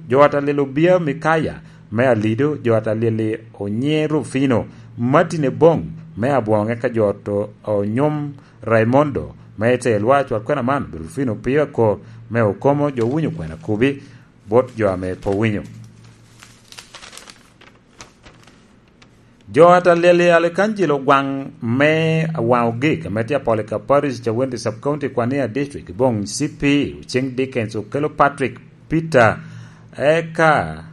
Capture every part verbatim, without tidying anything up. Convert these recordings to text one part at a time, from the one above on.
Jo ata lelo Bia Mikaya me Alido, jo ata leli Onye Rufino, Martin Ebong me Abwoŋe ka jo to Onyom Raimondo me Itelwa. Cwal kwena man, Rufino Pio Akor me Okomo, jo winyo kwena kubi bot jo ame pe owinyo. Jo ata leli Alekanjilo Gwaŋ me Waŋ Ogik ame tye Apolika Parish, Cawenti Sub County, Kwania District, Boŋ C P, Oceŋ Dickens, Okelo Patrick, Peter, eka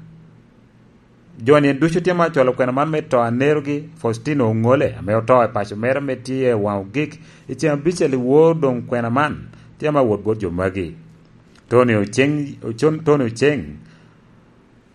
jo-ni ducu tye ma acwalo kwena man me to anerogi, Faustino Oŋole, ame oto i paco mere ame tye i Waŋ Ogik i ceŋ abicel i wor doŋ kwena man tye ma wot bot jo magi. Tony Oceŋ, Ocon-, Tony Oceŋ,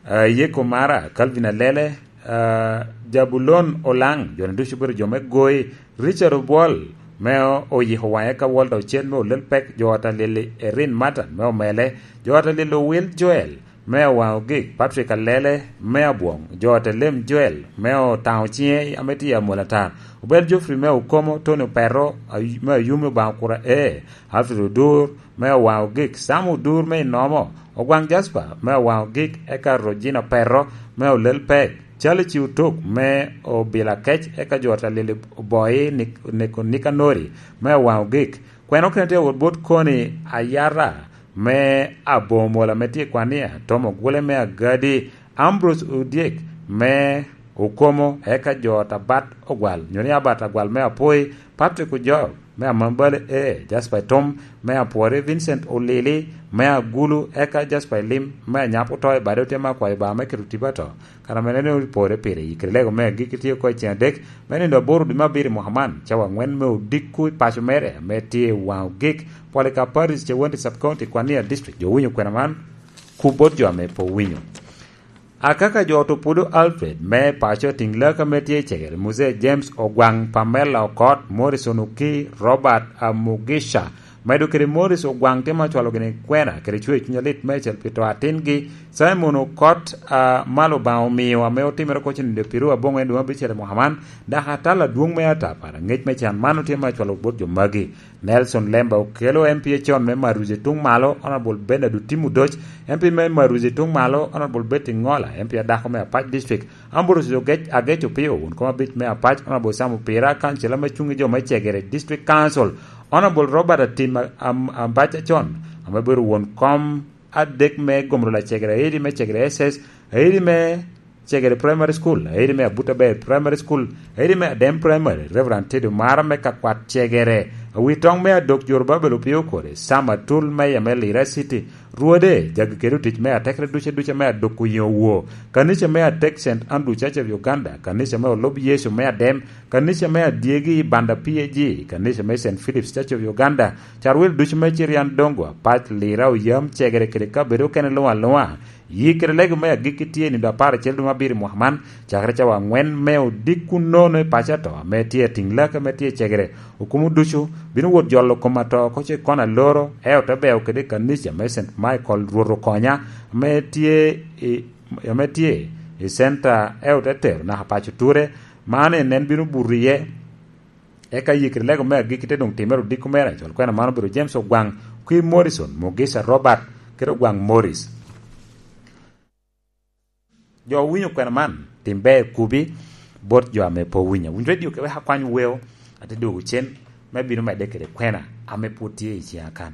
ah, Yeko Mara, Calvin Alele, ah, Jabulon Olaŋ, jo-ni ducu obedo jo me Goi, Richard Obwol me o-, Oyiko Waŋe ka Walter Ocen me Olel Pek, jo ata lili Erin Martin me Omele, jo ata lili Owil Joel me Waŋ Ogik, Patrick Alele me Abwoŋ, jo ata lem Joel me Otaŋo Ciŋe ame tye i Amwol Atar, Obel Geoffrey me Okomo, Tony Opero, Ay-, me Ayumi Obaŋo Kura E, Alfred Odur me Owaŋ Ogik, Sam Odur me Inomo, Ogwaŋ Jasper me Owaŋ Ogik, eka Rojina Pero me Olel Pek, Calici Otuk me Obila Kec, eka jo ata lili Oboi Nik-, Neko Nikanori me Owaŋ Ogik. Kwena okene tye awot bot Koni Ayara me Abomola ame tye i Kwania, Tom Ogule me Agadi, Ambrose Odyek me Okomo, eka jo ata Bat Ogwal, nyo ni Abat Agwal me Apoi, Patrick Ojok me Amambale E, Jasper Tom me Apwori, Vincent Olili me Agulu, eka Jasper Elim me Anyap oto i bade, otye me akwayo Obaŋa me keto tipo ato. Kara mene ni opore pire i kede lego me agikki tye oko i ceŋ adek me nino aboro dwe me abiro i mwaka man, cawa aŋwen me odiko i paco mere ame tye i Waŋ Ogik, Polika Parish, Cawenti Sub County, Kwania District. Jo winyo kwena man, kup bot jo ame pe owinyo. Akaka jo Otupudo Alfred me paco, tiŋ lak ame tye i Cegere, Muzee James Ogwaŋ, Pamela Okot, Morrison Oki, Robert Amugisha, medo kede Morris Ogwaŋ tye ma cwalo gini kwena kede cwer cuny alit meicel pi to atingi, Simon Okot, a, malo Obaŋa omio ame otimere oko cen nino pyeraryo aboŋo en dwe me abicel i mwaka man, dok atal adwoŋ me atapara, ŋec me can man otye ma cwalo bot jo magi. Nelson Lemba Okelo, M P acon me Maruzi tuŋ malo, Honorable Bernard Otim Odoc, M P me Maruzi tuŋ malo, Honorable Betty Ngola, M P adako me Apac District, Ambrose Ogec-, Agec Opio, won kom abic me Apac, Honorable Sam Opira, kancila me cuŋ i jo me Cegere District Council, Honorable Robert Atim Am-, Ambac Acon, ame bedo won kom adek me gomro lacegere, aidi me Cegere S S, aidi me Cegere Primary School, aidi me Abuta Bay Primary School, aidi me Adem Primary, Reverend Teddy Omara me Kakwat Cegere, awi toŋ me Adok Jorobabel Opio Kore, Sam Atul, Mayor me Lira City, Rwode, jagi kede otic me atekere duce duce me Adok Oyeŋo Woo, kanica me atek Saint Andrew Church of Uganda, kanica me Olub Yecu me Adem, kanica me adyegi Banda P A G, kanica me Saint Philip's Church of Uganda, carwil ducu me Cirian Dongo, Apac, Lira, Oyam, Cegere kede kabedo okene luŋ aluŋa. Yik kede lego me agikki tye i nino apar acel dwe me abiro i mwaka man, cakere cawa aŋwen me odiko nono i paco ato ame tye atiŋ lake ame tye i Cegere. Okumo ducu bino wot jolo kom ato oko ce kono aloro, eo te beo kede kanica me Saint Michael Rwot Okonya, ame tye i, ame tye i center, eo te tero naka paco ture. Man en, en bino buto iye. Eka yikere lego me agikki te doŋ timere odiko mere, col kwena man obedo James Ogwaŋ, Kwir Morrison, Mugisa Robert, kede Ogwaŋ Morris. Jo owinyo kwena man, tim ber kubi bot jo ame pe owinyo. Winy redio kewek akwany weo, ate dwogo cen me bino medde kede kwena ame pwod tye i ciŋa kan.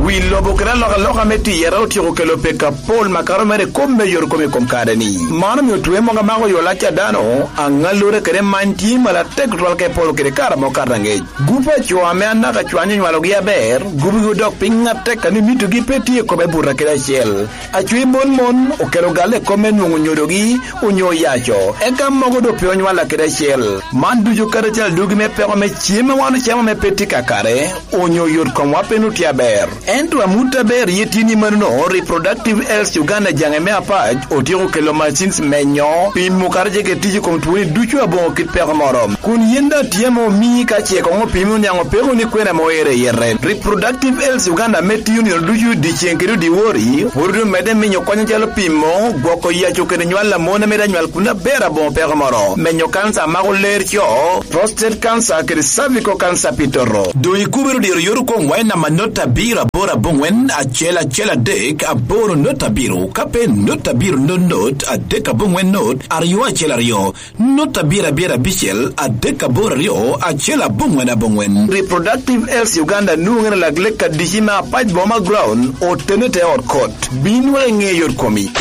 Wi lobo kede alokaloka me tiyere otyeko kelo pek apol makato mere i kop me yot kom i kom kare-ni. Man omio twe mogo amako yo lac a dano, aŋallure kede many tye malatek tutwal ka ipolo kede kare ame okato aŋec. Gup a co ame anaka cwanyo onywalogi aber, gubigi odok piny atek a ni mitogi pe tye i kome buta kede acel. Acwi mon mon okelo galle i kome nwoŋo nyodogi onyo oyaco, eka mogo doŋ pe onywalla kede acel. Man ducu kadi acel adugi me peko me cem ma wan ocamo me pe tye kakare, onyo yot komwa pe nutye aber. Ento amut aber ye tye ni manono, Reproductive Health Uganda jaŋe me apac otyeko kelo machines menyo, pimo kadi jege tic i kom twoni ducu aboŋo kit peko moro. Kun yen daŋ tye ame omii ka ce koŋ opimi oniaŋ opeko ni kwena ame oero i yete. Reproductive Health Uganda ame tiyo nino ducu dyeceŋ kede dyewor-ri, pwod omedde minyo kony acalo pimo, gwoko yaco kede nywal a mon ame daŋ nywal kun aber aboŋo peko moro, menyo kansa a mako ler co, prostate cancer kede cervical cancer pi toto. Doŋ ikubere dyero yot okoŋ wac namba not abiro Aboro aboŋwen acel acel adek aboro not abiro, ka pe not abiro not not adek aboŋwen not aryo acel aryo, not abiro abiro abicel adek aboro aryo acel aboŋwen aboŋwen. Reproductive Health Uganda nwoŋere lak lek adici me apac boma ground otene te ot kot. Bin wek iŋe yot komi.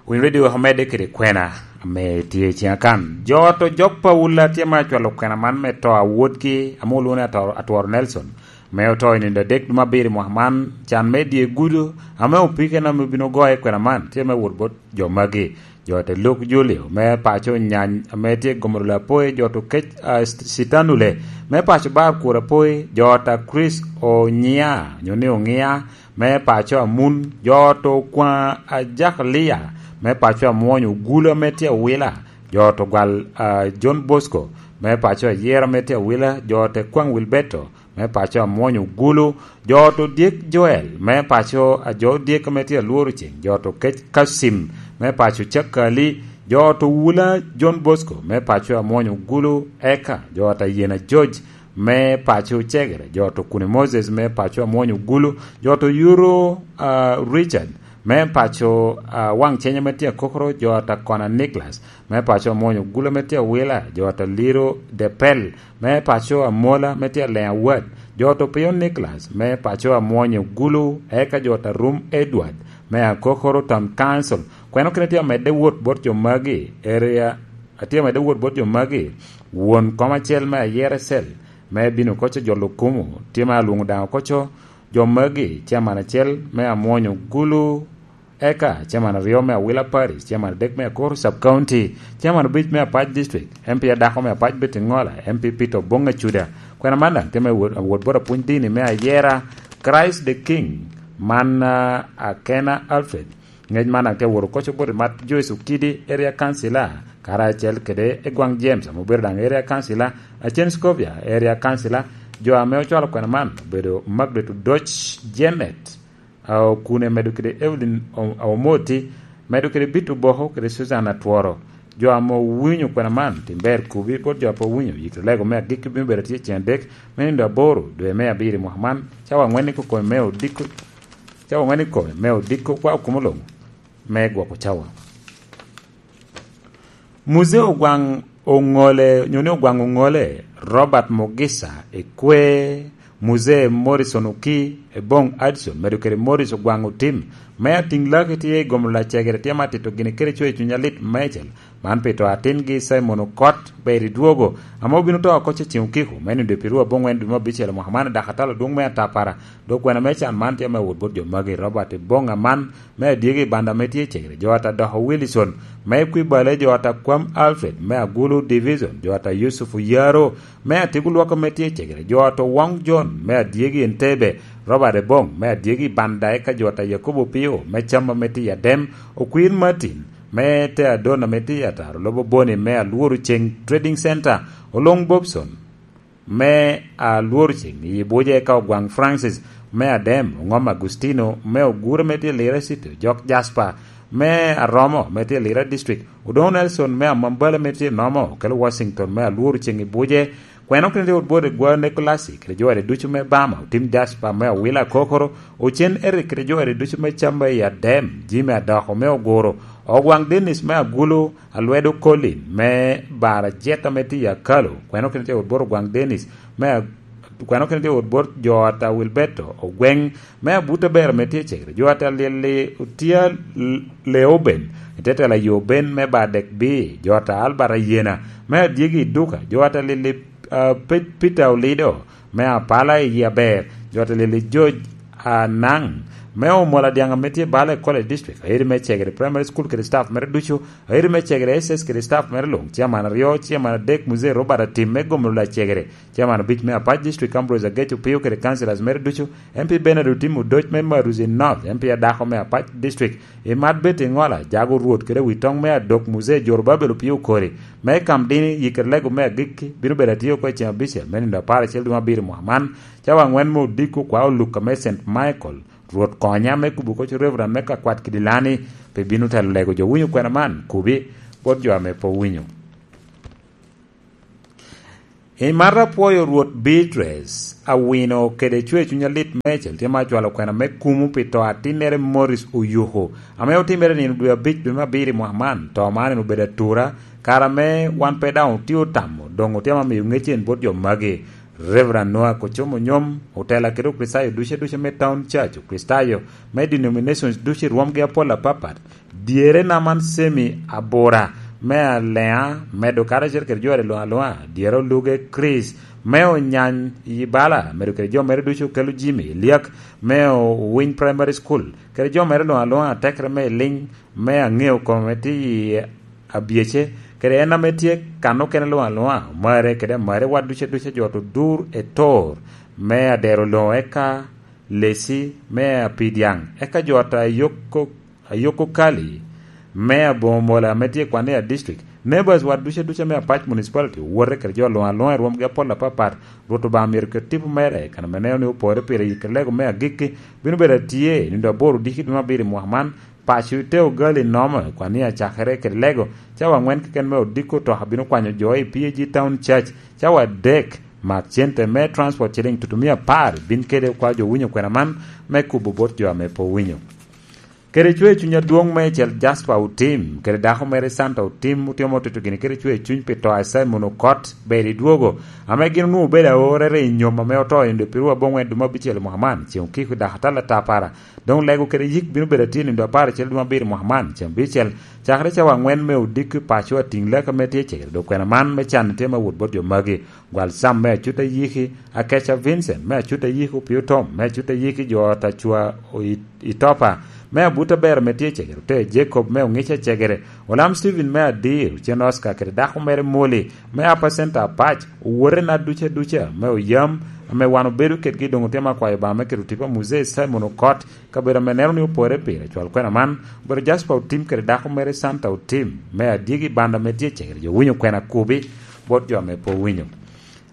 Winy Radio omedde kede kwena ame tye i ciŋa kan. Jo ot ojok Paula tye ma acwalo kwena man me to a wotgi ame olwoŋo ni Atworo, Atworo Nelson, ame oto i nino adek dwe me abiro i mwaka man, can me dye gudo, ame opike en ame obino goyo kwena man, tye me wot bot jo magi. Jo ot a Luke Julio me paco Nyany ame tye i Gomoro Lapoi, jo ot Okec, ah, Sitanule me paco Bar Kura Poi, jo ot a Chris Onya, nyo ni Oŋia, me paco Amun, jo ot Okwaŋ Ajak Lia, me paco Amwony Ogulu ame tye Awila, jo ot Ogwal, ah, John Bosco, me paco Ayera ame tye Awila, jo ot Ekwaŋ Wilberto, me paco Amwony Ogulu, jo ot Odyek Joel, me paco a jo Odyek ame tye Alworo Ceng, jo ot Okec Kacim, me paco Cakali, jo ot Owula John Bosco, me paco Amwony Ogulu, eka jo ot Ayena George, me paco Cegere, jo ot Okune Moses, me paco Amwony Ogulu, jo ot Oyuro, ah, Richard, me paco, ah, Waŋ Cenya me tye Akokoro, jo ot Akona Nicholas, me paco Amwony Ogulu me tye Awila, jo ot Aliro Depel, me paco Amola me tye Leŋ Awad, jo ot Opiyo Nicholas, me paco Amwony Ogulu, eka jo ot Arum Edward, me Akokoro Town Council. Kweno kene tye amedde wot bot jo magi, area, atye amedde wot bot jo magi, won kom acel me Ayera Cell, me bino koco jolo kumo, tye ma alwoŋo daŋ okoco jo magi, chairman acel me Amwony Ogulu, eka chairman aryo me Awila Parish, chairman adek me Akuru Sub County, chairman obic me Apac District, M P adako me Apac Betty Ngola, M P Peter Obong Acuda. Kwena man daŋ tye me wot, wot bot apwony dini me Ayera, Christ the King, man, ah, Akena Alfred. Ngec man daŋ tye wot okoco bot Mat Joyce Okidi, area councilor, karacel kede Egwaŋ James, ame obedo daŋ area councilor, Acen Scovia, area councilor. Jo ame ocwalo kwena man obedo Margaret Odoc, Janet, ah, Okune, medo kede Evelyn O-, Omoti, medo kede Bitu Boko kede Susan Atworo. Jo ame owinyo kwena man, tim ber kubi, bot jo a pe owinyo, yik lego me agikki bino bedo tye ceng adek me nino aboro dwe me abiro i mwaka man, cawa angwen i kome me odiko, cawa angwen i kome me odiko kwa okumo loŋo me gwoko cawa. Muzee Ogwaŋ Oŋole, nyo ni Ogwaŋ Oŋole, Robert Mugisa Ekwe, Muzee Morrison Oki, Ebong Addison, medo kede Morris Ogwaŋ Otim, me atiŋ laki tye i gomo lacegere tye ma tito gini kede coc i cuny alit meicel. Man pi to atingi Simon Okot, ber i dwogo, ame obino to oko ceciŋ okiko, me nino dwe pirwo aboŋwen dwe me abicel mwaka man, dok atalo dwoŋ me atapara. Dok kwena me can man tye me wot bot jo magi, Robert Ebong Aman, me adyegi i banda ame tye i Cegere, jo ata Doko Wilson, me kwi bale jo ata Kwam Alfred, me Agulu Division, jo ata Yusuf Oyaro, me Atigo Lwak ame tye i Cegere, jo ata Wong John, me adyegi Entebbe, Robert Ebong, me adyegi i banda, eka jo ata Yakobo Pio, me Cam ame tye i Adem, Okwir Martin, me te Adon ame tye i Ataro, Lobo Boni, me Alworo Ceng Trading Center, Olong Bobson, me Alworo Ceng i Buje, ka Ogwaŋ Francis, me Adem, Oŋom Agustino, me Ogure me tye Lira City, Jok Jasper, me Aromo me tye Lira District, Odoŋo Nelson me Amambala me tye Nomo, kede Washington me Alworo Ceng i Buje, kweno kede wot bwot egwa Nikolasi, kede jo ere ducu me Bama, Otim Jasper me Awila Kokoro, Ocen Eric kede jo ere ducu me Camba i Adem, Jimmy Adoko me Oguro, Ogwaŋ Dennis me Agulu, Alwedo Colin, me Bara Jet ame tye i Akalo, kweno kene tye wot bot Ogwaŋ Dennis, me Ag-, kweno kene tye wot bot jo ata Wilberto Ogweng, me Abuta Bera ame tye i Cegere, jo ata Lili Otia L-, Leoben, i te tela Yoben me Badek Bi, jo ata Albert Ayena, me Adyegi i Duka, jo ata Lili, ah, Pe-, Peter Olido, me Apala i Aber, jo ata Lili George Anaŋ, me Omola Dyaŋ ame tye bala i College District, Airi me Cegere Primary School kede staff mere ducu, Airi me Cegere S S kede staff mere luŋ, chairman aryo, chairman adek, Muzee Robert Atim me Gomolo Lacegere, chairman abic me Apac District, Ambrose Ageco Pio kede councillors mere ducu, M P Bernard Otim Odoc me Maruzi North, M P adako me Apac District, i Mat Betty Ngola, Jago Rwot kede Witoŋ me Adok, Muzee Jorobabel Opio Okori, me Kam Dini, Yikere Lego me Agikki, bino bedo atye oko i ceng abicel me nino apar acel dwe me abiro mwaka man, cawa angwen me odiko kwa olukka me Saint Michael, Rwot konya me kubo koc Reverend me Kakwat Kidilani, pe bino telo lego jo winyo kwena man, kubi bot jo ame pe owinyo. I mata apwoyo Rwot Beatrice Awino kede cwer cuny alit meicel tye ma acwalo kwena me kumo pi to atinnere Morris Oyuku, ame otimere nino dwe abic dwe me abiro i mwaka man. To man en obedo atura, kara ame wan pe daŋ otye otamo, doŋ otye ma miyo ŋec en bot jo magi. Reverend Noah Kocomo Nyom, otela kede Okricitayo duce duce me Town Church, Okricitayo me denominations duce i rwomgi apol apapat, dyere Naman Semi Abura me Alea, medo karacel kede jo a lwongo alwonga, dyere Oluge Chris me Onyany i Bala, medo kede jo mere ducu okelo Jimmy Eliak me Owiny Primary School, kede jo mere lwongo alwonga atekere me Eliny me Aŋeo kome tye i Abyece, kede en ame tye kan okene lwongo alwonga, Omare kede Amare, wat duce duce jo otur e tor me adero loŋo eka Lesi me Apidyaŋ, eka jo ata Yoko Ayoko Kali, me Aboŋo Mola ame tye i Kwania District, neighbors wa duce duce me Apac Municipality, owote kede jo luŋ aluŋa i rwomgi apol apapat. Rwot Obaŋa myero ket tipo mere, kan ame neno ni opore pire i kede lego me agikki, bino bedo atye i nino aboro diki dwe me abiro i mwaka man. Paco te Ogali nomo i Kwania cakere kede lego, cawa angwen keken me odiko otoka bino kwanyo jo i P A G Town Church, cawa adek mak cente me transport ciling tutumia apar bin kede kwa jo winyo kwena man me kubo bot jo ame pe owinyo. Kede cwer cuny adwoŋ meicel Jasper Otim, kede dako mere Santa Otim, otye ma otito gini kede cwer cuny pi to a Simon Okot, ber i dwogo, ame gin onwoŋo obedo aorere i nyom ame oto i nino dwe pirwa aboŋwen dwe me abicel i mwaka man, ceŋ okiko i dako atal atapara. Doŋ lego kede yik bino bedo atye i nino dwe apar acel dwe me abiro i mwaka man, ceŋ abicel, cakere cawa angwen me odiko i paco atiŋ lek ame tye cegere, dok kwena man me can tye ma wot bot jo magi. Gwal Sam me Acuta Yiki, Akeca Vincent me Acuta Yiki, Opio Tom me Acuta Yiki, jo ot acwa o-, i, i Topa me Abuta Ber ame tye cegere, ote Jacob me Oŋica cegere, Olam Steven me Adir, Ocen Oscar kede dako mere Moli me Apa Center Apac, owote na duca duca me oyam ame wan obedo kedgi doŋ otemo akwayo Obaŋa me keto tipo a Muzee Simon Okot, kabedo ame neno ni opore pire, cwal kwena man, obedo Jasper Otim kede dako mere Santa Otim me Adyegi Banda me tye cegere, jo winyo kwena kubi bot jo ame pe owinyo.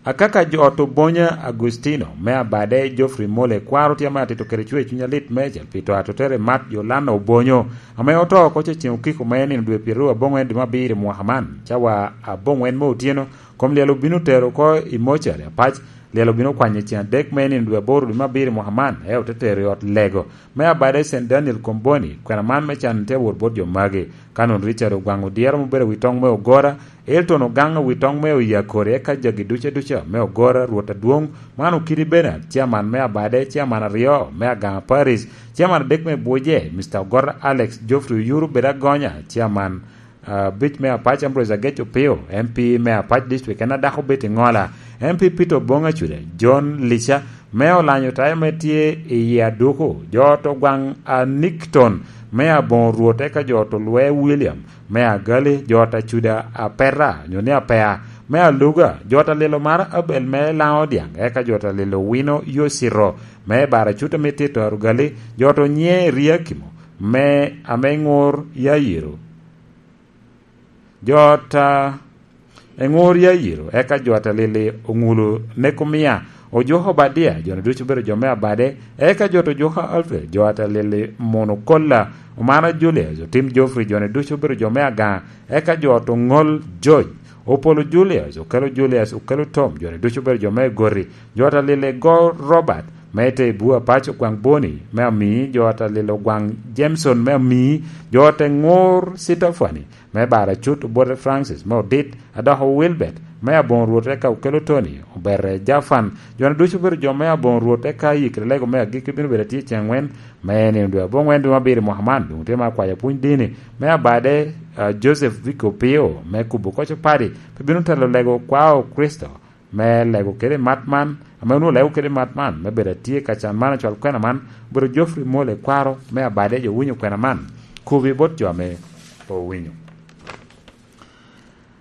Akaka jo ot Obonya Agustino, me Abade Geoffrey Mole, kwaro tye ame atito kede cwer cuny alit meicel pi to atotere Mat Yolanda Obonyo, ame oto oko cecen okiko me nino dwe pyeraryo aboŋwen dwe me abiro i mwaka man, cawa aboŋwen me otyeno, kom lyel obino tero oko i mocari Apac, lyel obino kwanyo i cen adek me nino dwe aboro dwe me abiro i mwaka man, eo te tero i ot lego me Abade Saint Daniel Komboni, kwena man me can tye awot bot jo magi. Kanon Richard Ogwaŋ Odyero ame obedo wi toŋ me Ogora, Elton Ogaŋ wi toŋ me Oyakori, eka jagi duca duca me Ogora, Rwot Adwoŋ, man Okidi Bernard, chairman me Abade, chairman aryo me Agaŋa Parish, chairman adek me Buje, Mister Ogora Alex, Geoffrey Oyuru Bedo Agonya, chairman, ah, abic me Apac Ambrose Agec Opio, M P me Apac District, en adako Betty Ŋola, M P Peter Oboŋ Acuda, John Lica, me Olanyo Tayo ame tye i yie Aduku, jo ot Ogwaŋ Anikton, me Aboŋo Rwot, eka jo ot Olwe William, me Agali, jo ot Acuda Apeta, nyo ni Apea, me Aluga, jo ot Alilo Mara Abel me Laŋo Odyaŋ, eka jo ot Alilo Wino Yocito, me Baracuta me Tito Arugali, jo ot Onye Riakimo, me ame Ŋur Yayiro. Jo ot, ah, Eŋur Yayiro, eka jo ot Alili Oŋulu Nekumia, Ojuko Obadia, jo-ni ducu obedo jo me Abade, eka jo ot Ojuko Alfred, jo ot Alili Mono Kolla, Omara Julius, Otim Geoffrey, jo-ni ducu obedo jo me Agaŋa, eka jo ot Oŋol George, Opolo Julius, Okelo Julius, Okelo Tom, jo-ni ducu obedo jo me Gori, jo ot Alili Go Robert, me Tebua Paco Gwaŋ Boni, me Amii, jo ot Alili Gwaŋ Jameson, me Amii, jo ot Eŋur Sitofani, me Baracut, Obote Francis, me Odit, Adoko Wilbert, me Aboŋo Rwot, eka Okelo Tony, Obete Jafan, jo-ni ducu obedo jo me Aboŋo Rwot, eka Yikere Lego me Agikki bino bedo atye ceŋ ŋwen, me nino dwe aboŋwen dwe me abiro i mwaka man, doŋ tye me akwayo pwony dini, me Abade, ah, Joseph Vico Pio, me kubo koc opadi, pe bino telo lego kwao Kricito, me lego kede mat man, ame onwoŋo lego kede mat man, me bedo atye ka can man, acwal kwena man, obedo Geoffrey Mole kwaro, me Abade jo winyo kwena man, kubi bot jo ame owinyo.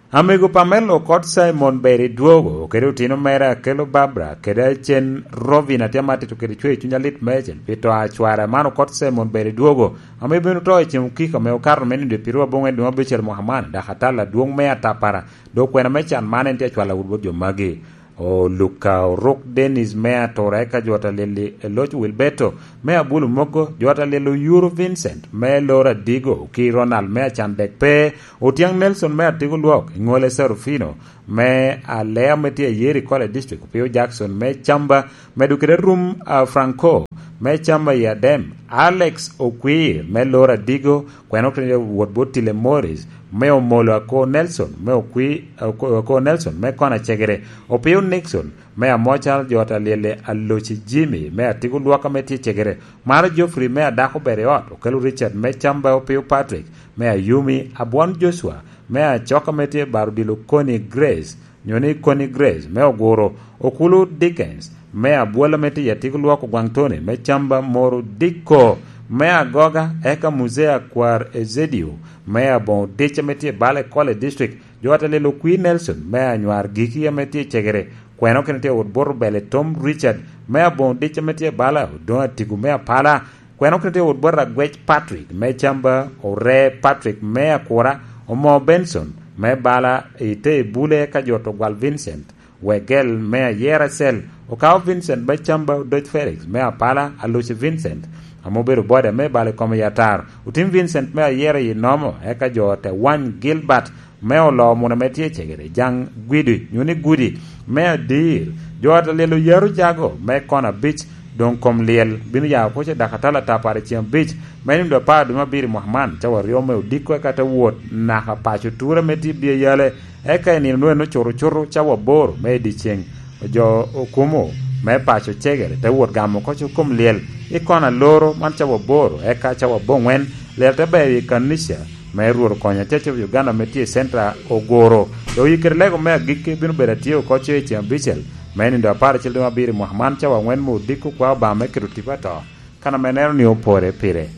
Amego Pamela Okot Simon ber i dwogo, kede otino mere Akelo Barbara, kede acen Rovin atye ama tito kede cwer cuny alit meicel, pi to a cware man Okot Simon ber i dwogo, ame bino to i cen okiko ame okato me nino dwe pyeraryo aboŋwen dwe me abicel mwaka man, dok atal adwoŋ me atapara, dok kwena me can man en tye acwalo awot bot jo magi. Oluka Oruk Dennis me Atura, eka jwot a lyel-li Eloc Wilberto me Abulu Mogo, jwot a lyel Oyuru Vincent me Loro Adigo, ki Ronald me Acandek Pe, Otyang Nelson me Atigo Lwok, Iŋole Serufino me Alea me tye Ayeri College District, Opio Jackson me Camba, medo kede Rum, ah, Franco me Camba i Adem, Alex Okwir me Loro Adigo, kweno kede wot bot Tile Morris, me Omolo Ako Nelson, me Okwi-, Ako-, Ako Nelson, me Kona Cegere, Opio Nixon, me Amocal, jot a lyelle Aloci Jimmy, me Atigo Lwaka me tye Cegere, Maro Geoffrey, me Adako Ber i Ot, Okelo Richard, me Camba, Opio Patrick, me Ayumi, Abwon Joshua, me Acoka me tye Baro Dilo Koni Grace, nyo ni Koni Grace, me Oguro, Okulu Dickens, me Abwola me tye Atigo Lwoko Gwaŋ Tony, me Camba Moro Dikko, me Agoga, eka Muzea Kwar Ezedio, me Aboŋo Dic ame tye Bale College District, jo atelelo Okwi Nelson, me Anywar Giki ame tye Cegere, kweno kene tye wot bot Obele Tom Richard, me Aboŋo Dic ame tye Bala, Odoŋo Atigo me Apala, kweno kene tye wot bot Agwec Patrick, me Camba, Ore Patrick, me Akura, Omo Benson, me Bala, Ite Bule, ka jo Ogwal Vincent, Wegel me Ayera Cell, Okao Vincent, me Camba, Odoc Felix, me Apala, Aluci Vincent, ame obedo boda me balo i kom i atar, Otim Vincent, me Ayera i Nomo, eka jo te wany Gilbert, me Oloo Muna me tye Cegere, Jaŋ Gwidi, nyo ni Gudi, me Adir, jo ate lyel Oyaro Jago, me Kona Abic, doŋ kom lyel bino ya oko ce dakatala tapar i ceŋ abic, me nindo apar dwe me abiro i mwaka man, cawa aryo me odiko eka te wot naka paco tura me tye Bia Yale, eka i nino nwen ocuto cuto cawa aboro me i dyeceŋ. Jo okumo me paco Cegere te wot gamo oko ce kom lyel i Kona Loro man cawa aboro, eka cawa aboŋwen lyel te bedo i kanica me Rwot Okonya Church of Uganda me tye i Central Ogoro. Dok oyikkere lego me agikki bino bedo atye oko ce i ceŋ abicel me nindo apar acel dwe me abiro i mwaka man, cawa aŋwen me odiko kwa Obaŋa me keto tipo ato, kan ame neno ni opore pire.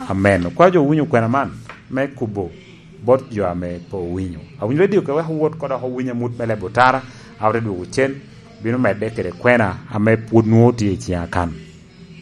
Amen. Okwa jo owinyo kwena man me kubo bot jo ame pe owinyo. Awinyo redio ka wek owot ko dok owiny amut me leb otara, a ote dwogo cen, bino medde kede kwena ame pwod nwoŋo tye i ciŋa kan.